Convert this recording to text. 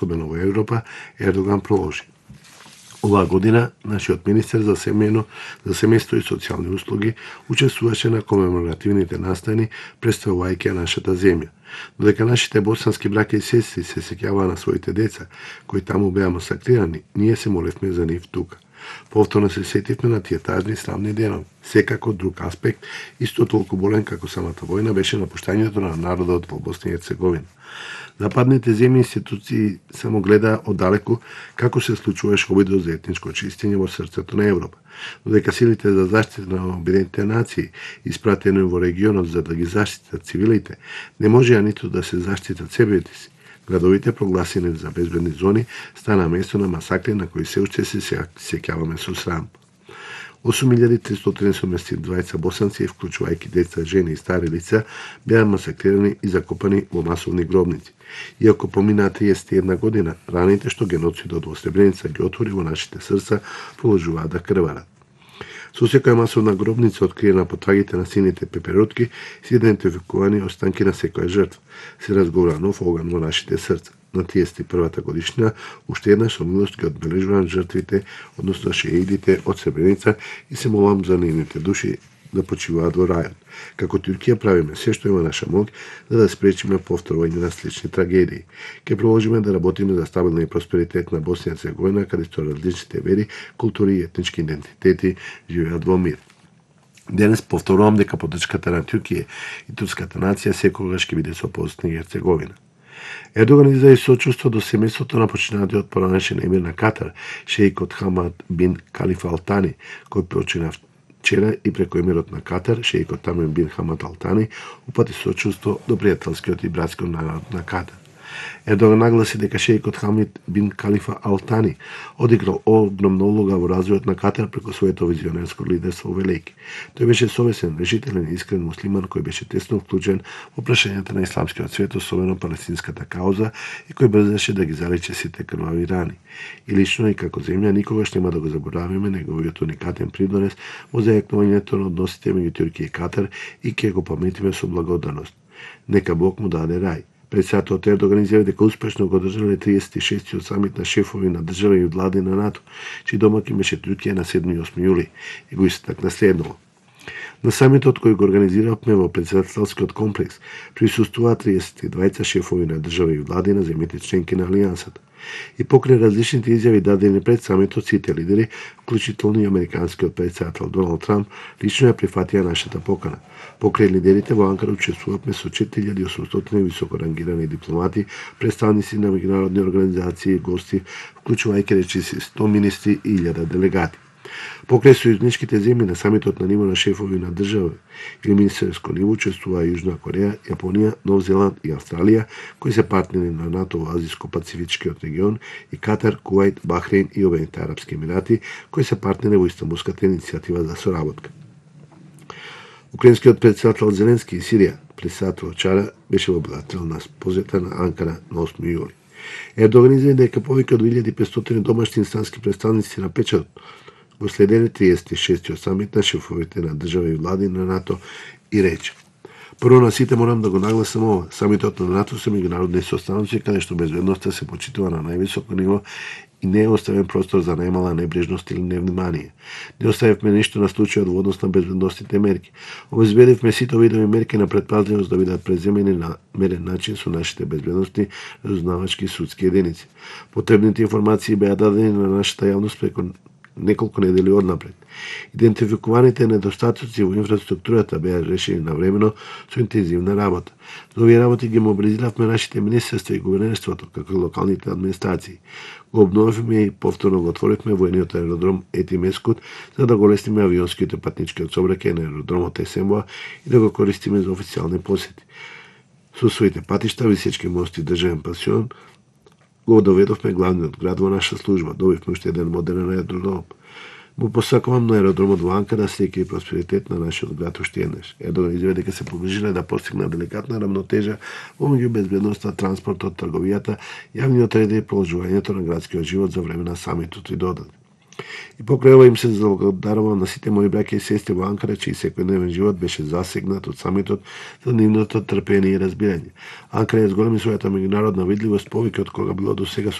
особено во Европа, Ердоган проложи. Оваа година, нашиот министер за семејство и социјални услуги учествуваше на комеморативните настани, представувајќи нашата земја. Додека нашите босански браќа и сестри се сеќаваа на своите деца, кои таму беа масакрирани, ние се молевме за нив тука. Повторно се сетивме на тие тажни славни денови. Секако друг аспект, исто толку болен како самата војна, беше напуштањето на народот во Босна и Херцеговина. Западните земји институции само гледаа оддалеку како се случуваше обидот за етничко очистење во срцето на Европа, додека силите за заштита на Обединетите нации, испратени во регионот за да ги заштитат цивилите, не можеа ниту да се заштитат себите си. Градовите, прогласени за безбедни зони, стана место на масакри на кои се уште се сеќаваме со срам. 8372 босанци, вклучувајќи деца, жени и стари лица, беа масакрирани и закопани во масовни гробници. Иако поминаа 31 година, раните што геноцидот во Сребреница ги отвори во нашите срца, продолжуваат да крварат. Со секоја масовна гробница откриена по трагите на сините пеперутки се идентификувани останки на секоја жртва. Се разговара нов оган во нашите срца. На 31-та годишна уште еднаш со милост ги одбележувам жртвите, односно шеидите од Сребреница и се молам за нивните души да почиваат во рајот. Како Туркија правиме се што има наша моќ за да спречиме повторување на слични трагедии. Ке продолжиме да работиме за стабилна и просперитет на Босна и Херцеговина, каде што различните вери, култури и етнички идентитети живеат во мир. Денес повторувам дека поддршката на Туркија и турската нација секогаш ќе биде со Босна и Херцеговина. Ердоган изрази сочувство до семејството на починатиот поранешен емир на Катар, шеикот Хамад бин Калифа Ал Тани, кој почина вчера и преку емирот на Катар, шеикот Тамим бин Хамад Ал Тани, упати сочувство до пријателскиот и братскиот народ на Катар. Ердоган нагласи дека шеикот Хамид бин Калифа Ал Тани одиграл огромна улога во развојот на Катар преку своето визионерско лидерство во Велики. Тој беше совесен, решителен и искрен муслиман кој беше тесно вклучен во прашањата на исламскиот свет, особено палестинската кауза, и кој брзаше да ги залечи сите крвави рани. И лично и како земја никогаш нема да го заборавиме неговиот уникатен придонес во зајакнувањето на односите меѓу Туркија и Катар и ќе го паметиме со благодарност. Нека Бог му даде рај. Председателот Ердоган изјави дека успешно го одржале 36-тиот самит на шефови на држави и влади на НАТО, чиј домаќин беше Туркија на 7 и 8 јули, и го истакна следново. На самитот кој го организиравме во председателскиот комплекс присуствуваа 32 шефови на држави и влади на земјите членки на Алијансата. И покрај различните изјави дадени пред самитот, сите лидери, вклучително и американскиот председател Доналд Трамп, лично ја прифатија нашата покана. Покрај лидерите во Анкара учествувавме со 4800 високорангирани дипломати, представници на меѓународни организации и гости, вклучувајќи речиси 100 министри и 1000 делегати. Покрај сојузничките земји на самитот на ниво на шефови на држави или министерско ниво учествуваа Јужна Кореја, Јапонија, Нов Зеланд и Австралија, кои се партнери на НАТО во Азиско-Пацифичкиот регион, и Катар, Кувајт, Бахрейн и Обединетите арапски емирати, кои се партнери во Истанбулската иницијатива за соработка. Украинскиот председател Зеленски и Сирија, председател вчера, беше во билатерална посета на Анкара на 8 јули. Ердоган изјави дека повеќе од 2500 домашни инстански представници на печатот го следеле 36-тиот самит на шефовите на држави и влади на НАТО и рече: Прво на сите морам да го нагласам ова. Самитот на НАТО се меѓународни состаноци каде што безбедноста се почитува на највисоко ниво и не е оставен простор за најмала небрежност или невнимание. Не оставивме ништо на случајот во однос на безбедностните мерки. Обезбедивме сите видови мерки на предпазливост да бидат преземени на мерен начин со нашите безбедностни разузнавачки судски единици. Потребните информации беа дадени на нашата јавност преку неколку недели однапред. Идентификуваните недостатоци во инфраструктурата беа решени навремено со интензивна работа. За овие работи ги мобилизиравме нашите министерства и гувернерството, како и локалните администрации. Го обновивме и повторно го отворивме воениот аеродром Ети Мескут за да го лесниме авионските патничкиот сообраќај на аеродромот Есенбоа и да го користиме за официјални посети. Со своите патишта, висечки мости и државен пансион, го доведовме главниот град во наша служба. Добивме уште еден модерен аеродром. Му посакувам на аеродромот во Анкара среќа и просперитет на нашиот град уште еднаш. Ердоган изјави дека се погрижиле да постигна деликатна рамнотежа помеѓу безбедноста, транспортот, трговијата, јавниот ред и продолжувањето на градскиот живот за време на самитот и додаде. И покрај ова им се заблагодарувам на сите мои браќа и сестри во Анкара, чиј секојдневен живот беше засегнат од самитот за нивното трпение и разбирање. Анкара ја зголеми својата меѓународна видливост повеќе од кога било до сега